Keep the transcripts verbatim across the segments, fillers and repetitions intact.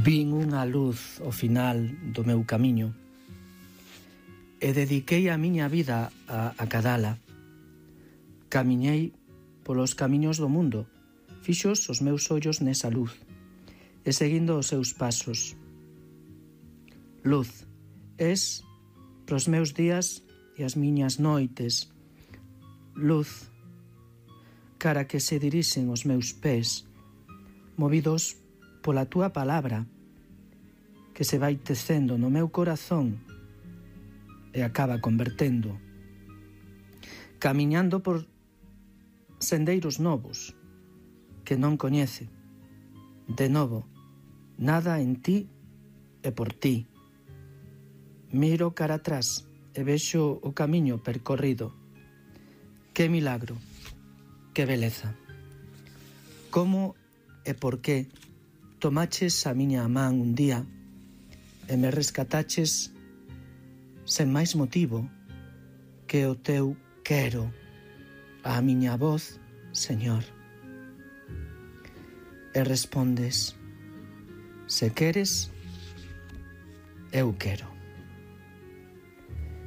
Vin unha luz ao final do meu camiño e dediquei a miña vida a acadala. Camiñei polos camiños do mundo, fixos os meus ollos nesa luz e seguindo os seus pasos. Luz, es pros meus días e as miñas noites. Luz, cara que se dirixen os meus pés, movidos pola túa palabra, que se vai tecendo no meu corazón e acaba convertendo. Camiñando por sendeiros novos que non coñece. De novo, nada en ti e por ti. Miro cara atrás e vexo o camiño percorrido. Que milagro, que beleza. Como e por que tomaches a miña man un día e me rescataches sen máis motivo que o teu quero, a miña voz, Señor. E respondes: se queres, eu quero.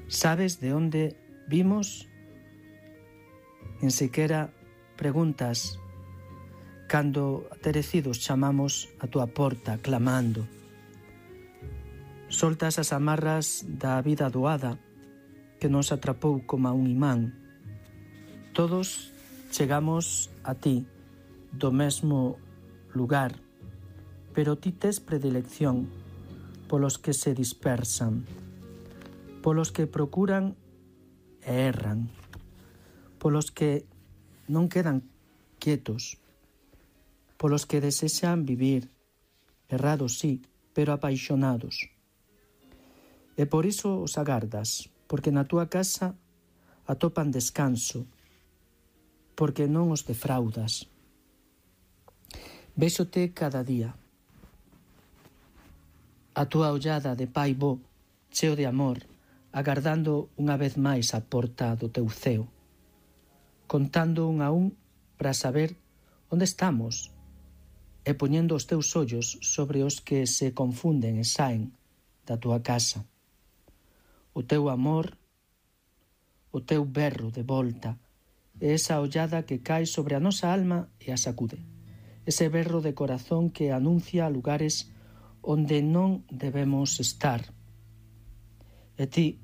Sabes de onde vimos? En sequera preguntas cando aterecidos chamamos a túa porta clamando. Soltas as amarras da vida doada que nos atrapou como a un imán. Todos chegamos a ti do mesmo lugar, pero ti tes predilección polos que se dispersan, polos que procuran e erran, polos que non quedan quietos, polos que desexan vivir, errados sí, pero apaixonados. E por iso os agardas, porque na túa casa atopan descanso, porque non os defraudas. Véxote cada día. A túa ollada de pai bo, cheo de amor, agardando unha vez máis a porta do teu ceo, contando un a un para saber onde estamos e poñendo os teus ollos sobre os que se confunden e saen da túa casa. O teu amor, o teu berro de volta e esa ollada que cae sobre a nosa alma e a sacude. Ese berro de corazón que anuncia lugares onde non debemos estar. E ti,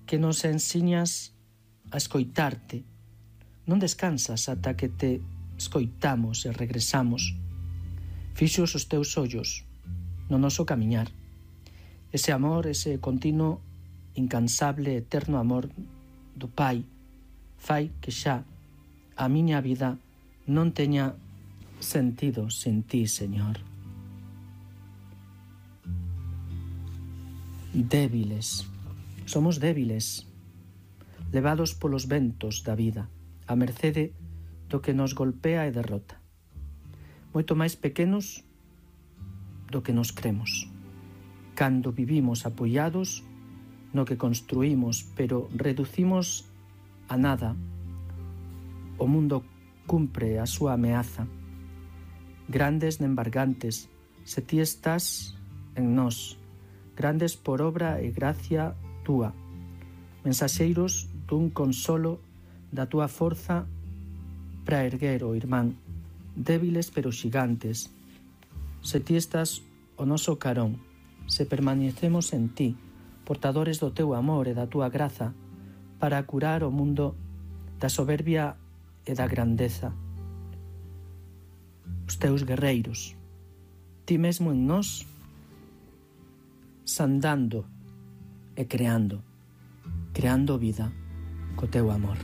que nos ensiñas a escoitarte, non descansas ata que te escoitamos e regresamos. Fixos os teus ollos no noso camiñar. Ese amor, ese continuo, incansable, eterno amor do Pai fai que xa a miña vida non teña sentido sen ti, Señor. Débiles, somos débiles, levados polos ventos da vida, a mercede do que nos golpea e derrota. Moito máis pequenos do que nos cremos, cando vivimos apoiados no que construímos, pero reducimos a nada. O mundo cumpre a súa ameaza. Grandes nembargantes, se ti estás en nós, grandes por obra e gracia túa, mensaxeiros dun consolo da túa forza para erguer o irmán, débiles pero xigantes. Se ti estás o noso carón, se permanecemos en ti, portadores do teu amor e da túa graza, para curar o mundo da soberbia e da grandeza. Os teus guerreiros, ti mesmo en nós, sandando e creando, creando vida co teu amor.